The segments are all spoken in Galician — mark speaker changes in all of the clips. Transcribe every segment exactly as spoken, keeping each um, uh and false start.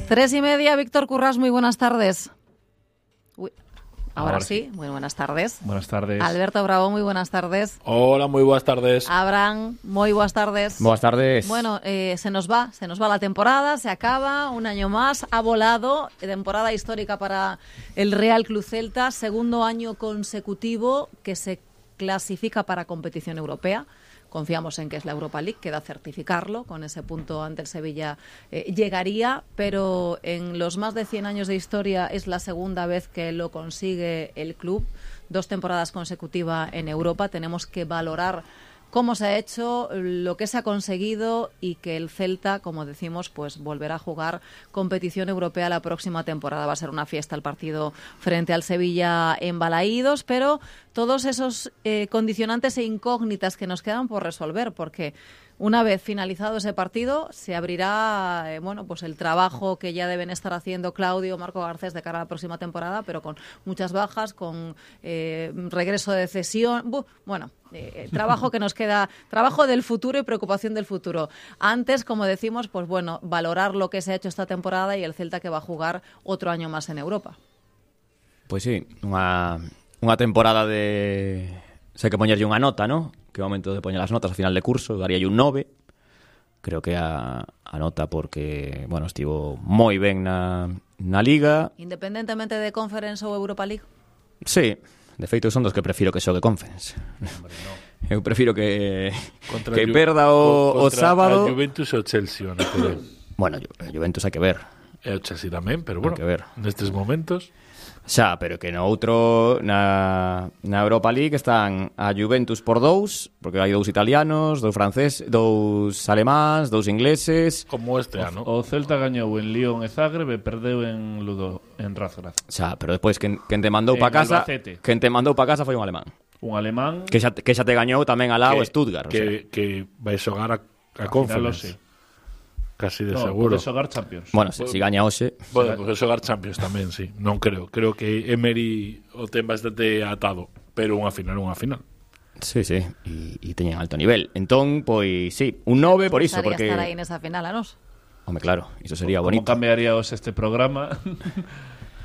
Speaker 1: Tres y media, Víctor Currás, muy buenas tardes. Uy, ahora, ahora sí, muy buenas tardes.
Speaker 2: Buenas tardes.
Speaker 1: Alberto Bravo, muy buenas tardes.
Speaker 3: Hola, muy buenas tardes.
Speaker 1: Abraham, muy buenas tardes.
Speaker 4: Buenas tardes.
Speaker 1: Bueno, eh, se nos va, se nos va la temporada, se acaba, un año más, ha volado, temporada histórica para el Real Club Celta, segundo año consecutivo que se clasifica para competición europea. Confiamos en que es la Europa League, queda certificarlo, con ese punto ante el Sevilla eh, llegaría, pero en los más de cien años de historia es la segunda vez que lo consigue el club, dos temporadas consecutivas en Europa. Tenemos que valorar cómo se ha hecho, lo que se ha conseguido y que el Celta, como decimos, pues volverá a jugar competición europea la próxima temporada. Va a ser una fiesta el partido frente al Sevilla en Balaídos, pero todos esos eh, condicionantes e incógnitas que nos quedan por resolver, porque una vez finalizado ese partido se abrirá eh, bueno, pues el trabajo que ya deben estar haciendo Claudio, Marco Garcés de cara a la próxima temporada, pero con muchas bajas, con eh, regreso de cesión, Buh, bueno, eh, trabajo que nos queda, trabajo del futuro y preocupación del futuro. Antes, como decimos, pues bueno, valorar lo que se ha hecho esta temporada y el Celta que va a jugar otro año más en Europa.
Speaker 4: Pois sí, unha, unha temporada de... Sei que poñerlle unha nota, ¿no? Que é o momento de poñer as notas ao final de curso, daría un nove. Creo que a, a nota porque, bueno, estivo moi ben na, na Liga.
Speaker 1: Independentemente de Conference ou Europa League?
Speaker 4: Sí, de feito son dos que prefiro que xogue Conference. Hombre, no. Eu prefiro que contra que perda o, o sábado.
Speaker 3: Contra a Juventus e o Chelsea, van a poder.
Speaker 4: Bueno, a Juventus hai que ver.
Speaker 3: E o Chelsea tamén, pero bueno,
Speaker 4: hai que ver.
Speaker 3: Nestes momentos...
Speaker 4: Xa, pero que no outro, na, na Europa League están a Juventus por dous, porque hai dous italianos, dous francés, dous alemáns, dous ingleses.
Speaker 3: Como este ano.
Speaker 2: O, o Celta gañou en Lyon e Zagreb e perdeu en Ludo, en Razgrad.
Speaker 4: Xa, pero despois quen, quen te mandou pa casa,
Speaker 2: Albacete.
Speaker 4: quen te mandou pa casa foi un alemán.
Speaker 2: Un alemán
Speaker 4: que xa, que xa te gañou tamén alá o Stuttgart.
Speaker 3: Que,
Speaker 4: o sea.
Speaker 3: que vai xogar a, a Conference. Casi de
Speaker 2: no,
Speaker 3: seguro.
Speaker 2: Pode xogar Champions.
Speaker 4: Bueno, se si gaña hoxe.
Speaker 3: Pode poder xogar Champions tamén, sí. Non creo. Creo que Emery o ten bastante atado, pero unha final, unha final.
Speaker 4: Sí, sí, e, e teñen alto nivel. Entón, pois, sí, un nove por iso, porque
Speaker 1: estar aí nesa final, a nos.
Speaker 4: Home, claro, iso sería
Speaker 2: bonito.
Speaker 4: bonito.
Speaker 2: Como cambiaríamos este programa?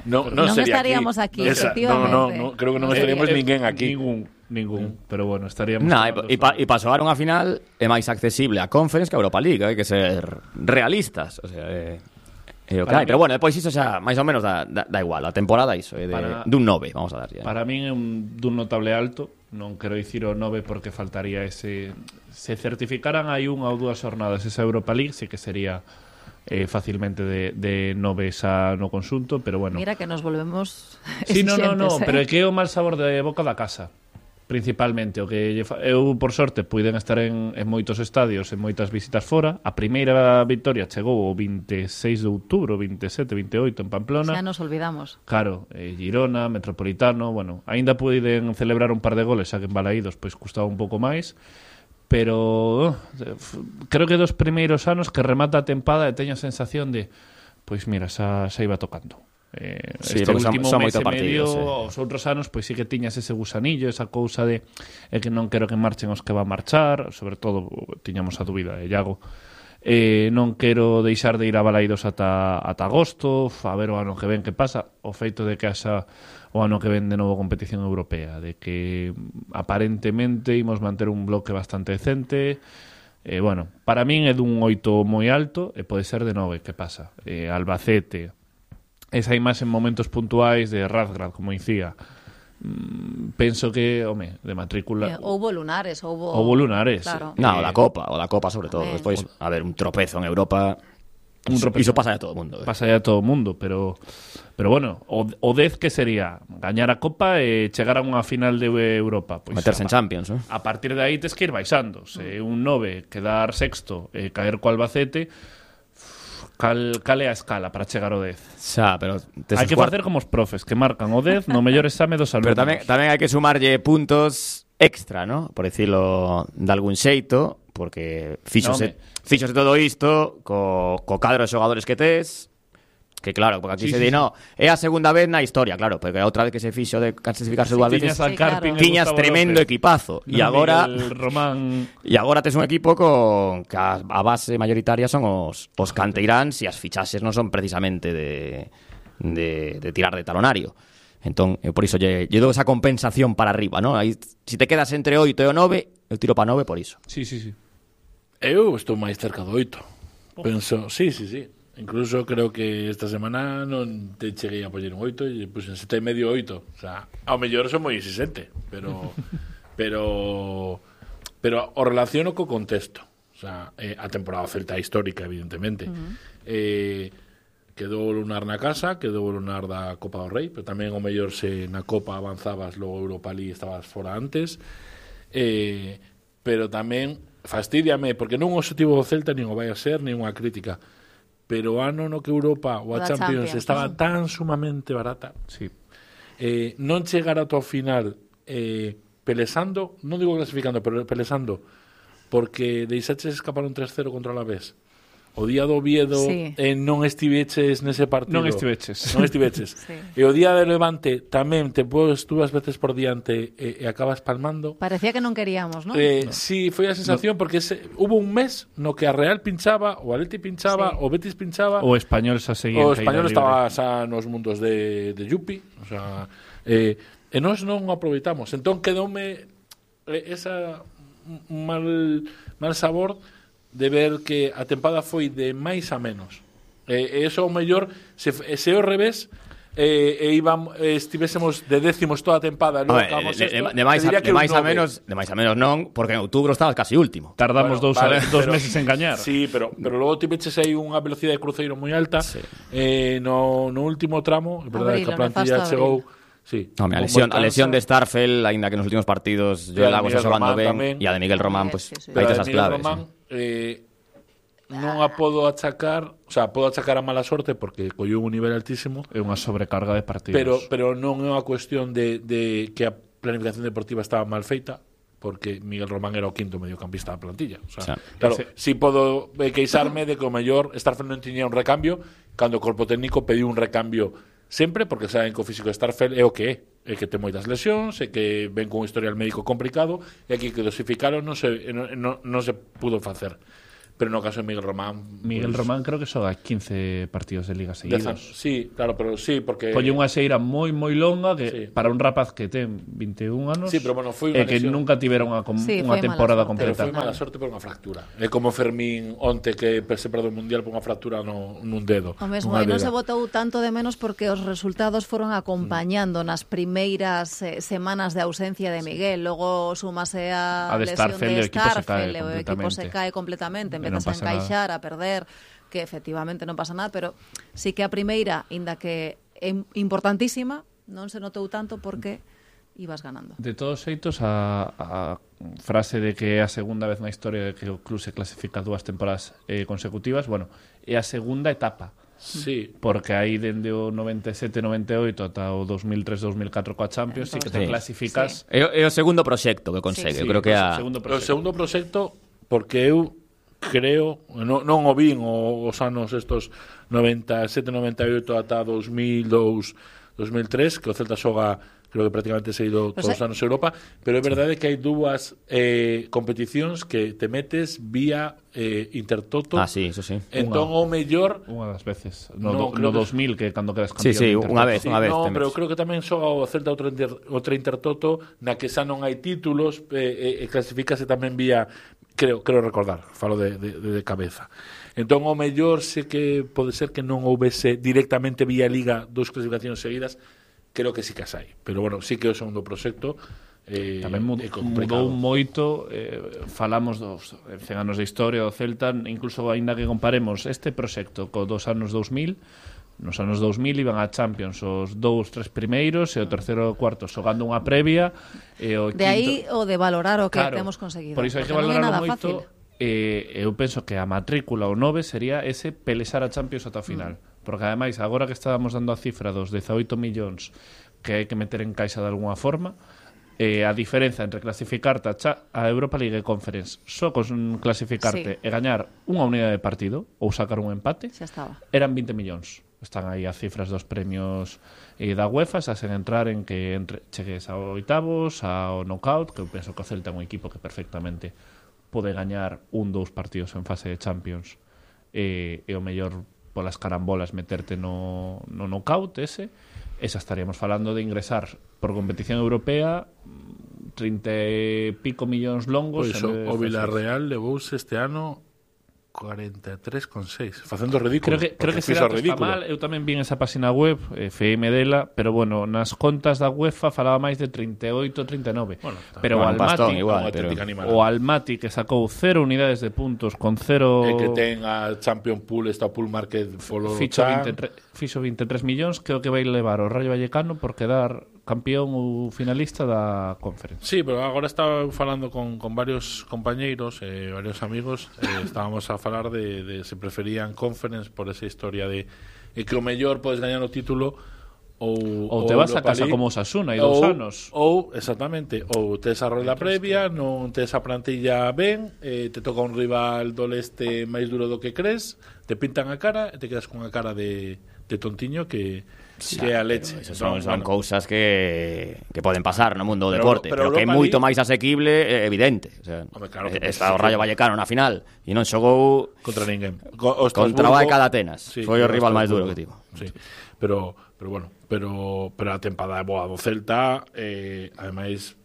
Speaker 3: No, no,
Speaker 1: non
Speaker 3: sería
Speaker 1: estaríamos aquí, aquí
Speaker 3: Esa,
Speaker 1: efectivamente.
Speaker 3: No, no, no, creo que non estaríamos eh, ninguén aquí.
Speaker 2: Ningún, ningún, pero bueno, estaríamos...
Speaker 4: Nah, e pa, pa xogar unha final é máis accesible a Conference que a Europa League, hai que ser realistas, o sea, é, é o que hai. Pero bueno, depois iso xa máis ou menos da, da, da igual, a temporada iso é de, para, dun nove, vamos a dar ya.
Speaker 2: Para min é un dun notable alto, non quero dicir o nove porque faltaría ese... Se certificaran hai unha ou dúas jornadas esa Europa League, sí que sería... Eh, facilmente de, de nove xa no consunto, pero bueno.
Speaker 1: Mira que nos volvemos
Speaker 2: sí, no, no, no,
Speaker 1: eh?
Speaker 2: pero é que é o mal sabor de boca da casa, principalmente. O que eu, por sorte, puiden estar en, en moitos estadios, en moitas visitas fora. A primeira victoria chegou o veintiséis de outubro, veintisiete, veintioito en Pamplona.
Speaker 1: Xa nos olvidamos.
Speaker 2: Claro, eh, Girona, Metropolitano, bueno, aínda puiden celebrar un par de goles, xa que en Balaídos pois custaba un pouco máis. Pero creo que dos primeiros anos que remata a tempada e teño a sensación de pois mira, xa, xa iba tocando eh,
Speaker 4: sí,
Speaker 2: este último
Speaker 4: son, son
Speaker 2: mes e medio
Speaker 4: partidos, eh.
Speaker 2: os outros anos pois sí que tiñas ese gusanillo, esa cousa de é que non quero que marchen os que van a marchar, sobre todo tiñamos a dúbida de Iago. Eh, non quero deixar de ir a Balaídos ata, ata agosto, a ver o ano que ven que pasa, o feito de que haxa o ano que ven de novo competición europea, de que aparentemente imos manter un bloque bastante decente. Eh, bueno, para min é dun oito moi alto e pode ser de nove, que pasa? Eh, Albacete, esa imaxe en momentos puntuais de Razgrad, como dicía, mm, penso que, home, de matrícula...
Speaker 1: Eh, houbo lunares, houbo...
Speaker 2: Houbo lunares.
Speaker 1: Claro.
Speaker 4: No, o da Copa, o da Copa sobre todo.
Speaker 1: Tamén.
Speaker 4: Despois, a ver, un tropezo en Europa...
Speaker 2: Un tropezo.
Speaker 4: Iso pasa a todo o mundo. Eh.
Speaker 2: Pasa a todo o mundo, pero pero bueno, o, o dez que sería gañar a Copa e chegar a unha final de Europa, pois
Speaker 4: meterse en Champions, eh?
Speaker 2: A partir de aí tes que ir baixando, se un nove quedar sexto e caer co Albacete, cal, cal é a escala para chegar ao dez?
Speaker 4: Xa, pero
Speaker 2: hai que facer como os profes que marcan o dez no mellor exame dos alumnos.
Speaker 4: Pero tamén, tamén hai que sumarlle puntos extra, ¿no? Por decirlo de algún xeito, porque fíxose, no, fíxose todo isto co, co cadro de xogadores que tes, que claro, porque aquí
Speaker 2: Sí,
Speaker 4: se
Speaker 2: sí,
Speaker 4: di,
Speaker 2: sí.
Speaker 4: no, é a segunda vez na historia, claro, porque a outra vez que se fixo de clasificarse dúas veces,
Speaker 2: Tiñas a
Speaker 1: Sí,
Speaker 2: Carpin
Speaker 1: claro.
Speaker 2: e
Speaker 4: tiñas
Speaker 2: Gustavo
Speaker 4: tremendo
Speaker 2: López.
Speaker 4: equipazo, e
Speaker 2: Non,
Speaker 4: agora
Speaker 2: Miguel Román...
Speaker 4: e agora tes un equipo con que a, a base mayoritaria son os, os canteiráns e as fichaxes non son precisamente de, de, de tirar de talonario. Entón, eu por iso lle, lle dou esa compensación para arriba, ¿no? Aí, si te quedas entre oito e o nove, eu tiro para nove por iso.
Speaker 2: Sí, sí, sí.
Speaker 3: Eu estou máis cerca do oito. Penso, sí, sí, sí. Incluso creo que esta semana non te cheguei a poñer un oito e pues en sete e medio oito. O sea, ao mellor son moi exigente, pero pero pero o relaciono co contexto. O sea, eh, a temporada celta histórica, evidentemente. Uh-huh. Eh, quedou o lunar na casa, quedou o lunar da Copa do Rei, pero tamén o mellor se na Copa avanzabas, logo Europa League estabas fora antes. Eh, pero tamén fastídiame, porque non o objetivo do Celta nin o vai a ser, nin unha crítica, pero o ano no que Europa ou a
Speaker 1: Da
Speaker 3: Champions,
Speaker 1: Champions,
Speaker 3: estaba
Speaker 1: sí.
Speaker 3: tan sumamente barata,
Speaker 2: Sí.
Speaker 3: eh, non chegar ata o final eh, pelesando, non digo clasificando, pero pelesando, porque deixaches escapar un tres cero contra a Alavés. O día do Oviedo
Speaker 1: Sí.
Speaker 3: eh, non estiveches nese partido.
Speaker 2: Non estiveches.
Speaker 3: Non estiveches.
Speaker 1: Sí.
Speaker 3: E o día de Levante tamén te podes dúas veces por diante e, e acabas palmando.
Speaker 1: Parecía que non queríamos, ¿no?
Speaker 3: Eh, no. Sí, foi a sensación no. porque ese, hubo un mes no que a Real pinchaba, o Atleti pinchaba,
Speaker 1: Sí.
Speaker 3: o Betis pinchaba,
Speaker 2: O Español xa seguía
Speaker 3: o
Speaker 2: en caída
Speaker 3: Español
Speaker 2: libre.
Speaker 3: estaba xa nos mundos de, de Yupi, o sea, eh, e nós non o aproveitamos. Entón quedoume eh, esa mal mal sabor de ver que a tempada foi de máis a menos. E eh, eso o mellor se se ao revés eh, e íbamos eh, estivésemos de décimos toda a tempada, logo
Speaker 4: Hombre,
Speaker 3: acabamos
Speaker 4: de, de,
Speaker 3: esto,
Speaker 4: de, máis a,
Speaker 3: te diría
Speaker 4: de
Speaker 3: que un
Speaker 4: máis a
Speaker 3: nove.
Speaker 4: menos, de máis a menos non, porque en outubro estabas casi último.
Speaker 2: Tardamos
Speaker 3: Bueno,
Speaker 2: dous,
Speaker 3: vale,
Speaker 2: dos
Speaker 3: pero-
Speaker 2: meses en gañar.
Speaker 3: Sí, pero pero logo tiveches aí unha velocidade de cruceiro moi alta.
Speaker 4: Sí.
Speaker 3: Eh, no, no último tramo, é verdade
Speaker 1: Abril,
Speaker 3: que a
Speaker 1: o
Speaker 3: plantilla
Speaker 1: nefasto
Speaker 3: chegou.
Speaker 1: abril.
Speaker 3: Sí,
Speaker 4: No, a
Speaker 3: con
Speaker 4: lesión,
Speaker 3: moi
Speaker 4: a lesión de
Speaker 3: cansa,
Speaker 4: Starfel, aínda que nos últimos partidos
Speaker 3: E a
Speaker 4: Joel
Speaker 3: de
Speaker 4: Lago está
Speaker 3: Miguel
Speaker 4: xogando
Speaker 3: Román
Speaker 4: ben,
Speaker 3: tamén.
Speaker 4: e a de Miguel Román,
Speaker 1: Miguel,
Speaker 4: pues,
Speaker 1: sí, sí.
Speaker 3: pero
Speaker 4: aí
Speaker 3: a
Speaker 4: tes
Speaker 3: de
Speaker 4: as
Speaker 3: Miguel
Speaker 4: claves.
Speaker 3: Román,
Speaker 4: sí.
Speaker 3: eh, non a podo achacar, o sea, podo achacar a mala sorte porque colleu un nivel altísimo,
Speaker 2: É unha sobrecarga de partidos.
Speaker 3: pero pero non é unha cuestión de, de que a planificación deportiva estaba mal feita, porque Miguel Román era o quinto mediocampista da plantilla. O sea,
Speaker 4: Xa.
Speaker 3: claro,
Speaker 2: Ese-
Speaker 3: si podo eh, queixarme de que o mellor Starfel non tiña un recambio, cando o corpo técnico pediu un recambio sempre, porque saben que o físico de Starfel é o que é, é que ten moitas lesións, é que ven con un historial médico complicado, e aquí que dosificaron non se, non, non, non se pudo facer. Pero no caso de Miguel Román...
Speaker 2: Miguel
Speaker 3: pues,
Speaker 2: Román creo que xoga quince partidos de liga
Speaker 3: dez
Speaker 2: seguidos.
Speaker 3: anos. Sí, claro, pero sí, porque...
Speaker 2: Colle unha xeira moi moi longa que
Speaker 3: Sí.
Speaker 2: para un rapaz que ten vinte e un anos
Speaker 3: Sí, pero bueno, foi
Speaker 2: e
Speaker 3: unha
Speaker 2: que
Speaker 3: lesión.
Speaker 2: nunca tivera unha, com-
Speaker 1: Sí,
Speaker 2: unha
Speaker 1: foi mala
Speaker 2: temporada
Speaker 1: sorte.
Speaker 3: Pero
Speaker 2: completa.
Speaker 3: foi mala sorte por unha fractura. É como Fermín onte que se perdeu o Mundial por unha fractura no, nun dedo.
Speaker 1: O mesmo,
Speaker 3: nunha
Speaker 1: e non se
Speaker 3: dega.
Speaker 1: botou tanto de menos porque os resultados foron acompañando nas primeiras eh, semanas de ausencia de Miguel. Logo súmase a,
Speaker 2: A de
Speaker 1: lesión
Speaker 2: Starfel,
Speaker 1: de
Speaker 2: o equipo se cae
Speaker 1: Starfel, e o equipo se
Speaker 2: completamente.
Speaker 1: cae completamente,
Speaker 2: E non
Speaker 1: empezas a
Speaker 2: pasa
Speaker 1: encaixar, a perder, que efectivamente non pasa nada, pero sí que a primeira, inda que é importantísima, non se notou tanto porque ibas ganando.
Speaker 2: De todos xeitos, a, a frase de que é a segunda vez na historia de que o club se clasifica dúas temporadas eh, consecutivas, bueno, é a segunda etapa.
Speaker 3: Sí,
Speaker 2: Porque aí dende o noventa e sete noventa e oito ata o dos mil tres dos mil catro coa Champions, sí que te
Speaker 4: Sí.
Speaker 2: clasificas.
Speaker 4: É, o- é o segundo proxecto que consegue.
Speaker 1: Sí,
Speaker 4: Eu creo que é a...
Speaker 2: segundo
Speaker 3: o
Speaker 2: proxecto.
Speaker 3: segundo proxecto, porque eu creo, non, non o vin o, os anos estos noventa e sete noventa e oito ata dos mil dous dos mil tres, que o Celta xoga creo que prácticamente se ido
Speaker 1: Pero
Speaker 3: todos os
Speaker 1: se-
Speaker 3: anos a Europa, pero é verdade que hai dúas eh, competicións que te metes vía eh, Intertoto.
Speaker 4: Ah, sí, eso sí.
Speaker 3: Entón o mellor
Speaker 2: Unha das veces. No,
Speaker 3: No,
Speaker 2: do,
Speaker 3: creo
Speaker 2: no
Speaker 3: que-
Speaker 2: dos mil, que cando quedas
Speaker 4: Sí,
Speaker 2: campeón
Speaker 4: sí,
Speaker 2: de
Speaker 4: unha
Speaker 2: Intertoto.
Speaker 4: vez,
Speaker 3: Sí,
Speaker 4: unha vez.
Speaker 3: no,
Speaker 4: te
Speaker 3: pero
Speaker 4: metes.
Speaker 3: creo que tamén xoga o Celta outra, inter, outra Intertoto na que xa non hai títulos e, e, e clasificase tamén vía creo creo recordar, falo de, de, de cabeza. Entón o mellor se que pode ser que non houvese directamente vía Liga dos clasificacións seguidas, creo que sí que as hai. Pero bueno, sí que é o segundo proxecto eh,
Speaker 2: Tamén mud,
Speaker 3: é complicado.
Speaker 2: mudou moito, eh, falamos dos cen anos de historia do Celta, incluso aínda que comparemos este proxecto co dos anos dous mil, nos anos dous mil iban a Champions os dous, tres primeiros e o terceiro e o cuarto xogando unha previa e o
Speaker 1: De aí
Speaker 2: quinto...
Speaker 1: o de valorar o que
Speaker 2: Claro,
Speaker 1: temos conseguido.
Speaker 2: Por iso hai que
Speaker 1: porque non é
Speaker 2: valorarlo
Speaker 1: nada
Speaker 2: moito.
Speaker 1: fácil.
Speaker 2: Eh, eu penso que a matrícula o nove sería ese pelesar a Champions ata o final. Mm. Porque ademais, agora que estábamos dando a cifra dos dezaoito millóns que hai que meter en caixa de alguna forma, Eh, a diferenza entre clasificarte a, cha, a Europa League e Conference só con clasificarte
Speaker 1: Sí.
Speaker 2: e gañar unha unidade de partido ou sacar un empate
Speaker 1: Xa estaba.
Speaker 2: eran vinte millóns. Están aí as cifras dos premios eh, da UEFA, xa sen entrar en que entre, chegues ao oitavos, ao knockout, que eu penso que o Celta é un equipo que perfectamente pode gañar un, dous partidos en fase de Champions e, e o mellor polas carambolas meterte no, no knockout ese. Esa estaríamos falando de ingresar por competición europea trinta e pico millóns longos.
Speaker 3: Pois o, o Villarreal levouse este ano cuarenta e tres con seis, facendo ridículo.
Speaker 2: Creo que, creo que ese
Speaker 3: fixo
Speaker 2: dato está
Speaker 3: ridículo.
Speaker 2: mal. Eu tamén vi esa página web, eh, F M dela, pero bueno, nas contas da UEFA falaba máis de trinta e oito, trinta e nove.
Speaker 3: Bueno, está
Speaker 2: pero o
Speaker 4: un pastón
Speaker 2: Almaty,
Speaker 4: igual,
Speaker 3: o
Speaker 4: pero...
Speaker 3: Atlético Animal.
Speaker 2: o Almaty que sacou cero unidades de puntos con cero...
Speaker 3: E que ten a Champion Pool, esta Pool Market polo
Speaker 2: Fixo
Speaker 3: Chan.
Speaker 2: veintitrés, fixo veintitrés millóns, que é o que vai levar o Rayo Vallecano por quedar campeón ou finalista da Conference.
Speaker 3: Sí, pero agora estaba falando con, con varios compañeiros, eh, varios amigos, eh, estábamos a falar de, de se preferían Conference por esa historia de eh, que o mellor podes gañar o título ou,
Speaker 2: Ou te vas a
Speaker 3: Europa
Speaker 2: casa
Speaker 3: League,
Speaker 2: como Osasuna e dous
Speaker 3: ou-
Speaker 2: anos.
Speaker 3: Ou, exactamente, ou tes a rolda previa, non tes a plantilla ben, eh, te toca un rival do leste máis duro do que crees, te pintan a cara e te quedas con a cara de, de tontiño que, que é a leche.
Speaker 4: Esas son,
Speaker 3: Non,
Speaker 4: son
Speaker 3: bueno.
Speaker 4: cousas que, que poden pasar no mundo do
Speaker 3: Pero-
Speaker 4: deporte,
Speaker 3: pero
Speaker 4: pero, que é
Speaker 3: Europa
Speaker 4: moito
Speaker 3: League-
Speaker 4: máis asequible, é evidente. O sea,
Speaker 3: Home, claro que
Speaker 4: está o
Speaker 3: sí,
Speaker 4: Rayo
Speaker 3: sí.
Speaker 4: Vallecano na final e non xogou
Speaker 3: Contra ninguén. Co- o
Speaker 4: contra o
Speaker 3: Estrasburgo-
Speaker 4: Vallecano de Atenas. Foi o rival máis duro que tivo.
Speaker 3: Sí. Pero, pero bueno, pero, pero a tempada é boa do Celta, eh, ademais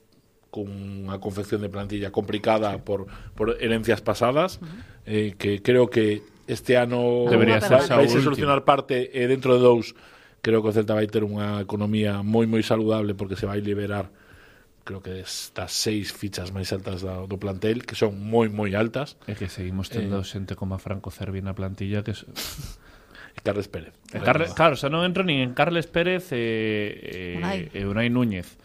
Speaker 3: con unha confección de plantilla complicada por, por herencias pasadas, eh, que creo que este ano
Speaker 2: Debería
Speaker 3: vai,
Speaker 1: ser
Speaker 3: vai
Speaker 2: xa o
Speaker 3: se
Speaker 2: último.
Speaker 3: solucionar parte e dentro de dous creo que o Celta vai ter unha economía moi moi saludable porque se vai liberar creo que estas seis fichas máis altas do, do plantel, que son moi moi altas.
Speaker 2: É que seguimos tendo xente como a Franco Cervi na plantilla que... es-
Speaker 3: E Carles Pérez.
Speaker 2: E Carles, claro, xa non entro nin en Carles Pérez e,
Speaker 1: Unai.
Speaker 2: e, e Unai Núñez.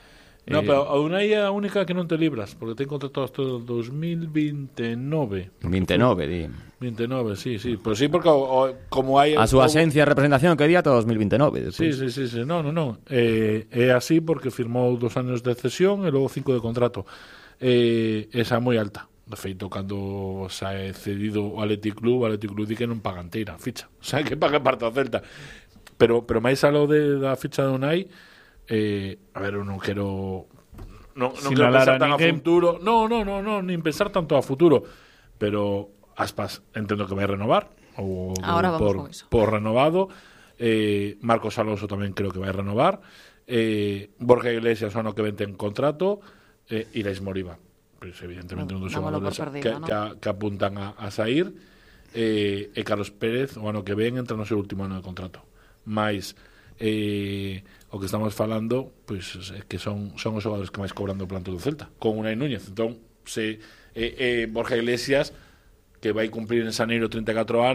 Speaker 3: No,
Speaker 2: Eh,
Speaker 3: pero a Unai é a única que non te libras, porque ten contrato hasta o dos mil veintinueve.
Speaker 4: vinte e nove, di.
Speaker 3: veintinueve, sí, sí. Pero sí, porque o, o, como hai...
Speaker 4: A súa
Speaker 3: o-
Speaker 4: axencia de representación que di ata dos mil vinte e nove.
Speaker 3: Sí, sí, sí, sí. No, no, no. Eh, é así porque firmou dos años de cesión e logo cinco de contrato. Eh, esa é moi alta. De feito, cando se ha cedido o Athletic Club, o Athletic Club di que non paga inteira a ficha. O sea, que paga parte ao Celta. Pero, pero máis alo de, da ficha de Unai, eh, a ver, eu non quero... Non, non quero
Speaker 2: Sinalar
Speaker 3: pensar
Speaker 2: a
Speaker 3: tan a
Speaker 2: ninguén.
Speaker 3: futuro. No, no, no, no, nin pensar tanto a futuro. Pero Aspas entendo que vai renovar. Ou
Speaker 1: Ahora vamos
Speaker 3: por,
Speaker 1: con eso.
Speaker 3: por renovado. Eh, Marcos Alonso tamén creo que vai renovar. Eh, Borja Iglesias o ano que ven ten contrato. Eh, Irais Moriba, pues, evidentemente un dos
Speaker 1: Dámolo por
Speaker 3: xogadores
Speaker 1: perdido,
Speaker 3: que,
Speaker 1: ¿no?
Speaker 3: que, a- que apuntan a, a sair. Eh, e Carlos Pérez o ano que ven entra no seu último ano de contrato. Mais eh, o que estamos falando pois é que son, son os xogadores que máis cobran do plantel do Celta, con Unai Núñez. Entón, se eh, eh, Borja Iglesias, que vai cumplir en Xaneiro treinta e catro anos,